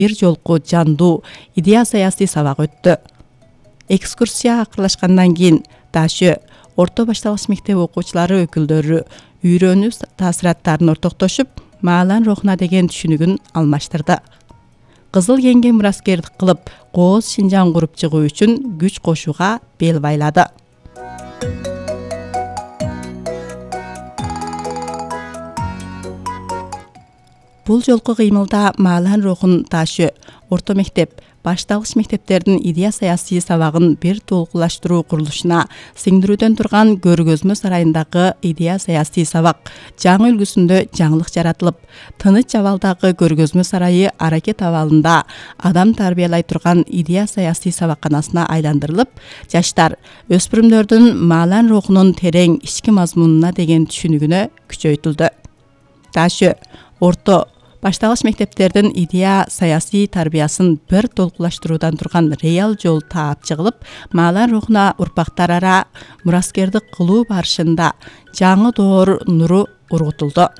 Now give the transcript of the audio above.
бир жолку жандуу идея саясий сабак өттү. Экскурсия акырлашкандан кийин Дашө орто башталгыч мектеп окуучулары өкүлдөрү үйрөнүү таасираттарын ортоктошуп, маалан рухуна деген түшүнүгүн алмаштырды. Кызыл кеңге мураскердик кылып, кооз Шинжаң куруп чыгуу үчүн күч кошууга бел байлады. Бул жолку кыймылда маалан рухун Дашө орто мектеп, башталгыч мектептердин идея саясий сабагын бир толкулаштыруу курулушуна сиңдирүүдөн турган көргөзмө сарайындагы идея саясий сабак жаңы үлгүсүндө жаңылык жаратылып, тыныч абалдагы көргөзмө сарайы аракет абалында адам тарбиялай турган идея саясий сабакканасына айландырылып, жаштар өспүрүмдөрдүн маалан рухунун терең ички мазмунуна деген түшүнүгүнө күчөйтүлдү. Дашө орто башталгыч мектептердин идея саясий тарбиясын бир толкулаштыруудан турган реал жол таап чыгылып, маалан рухуна урпактар ара мураскердик кылуу барышында жаңы доор нуру ургутулду.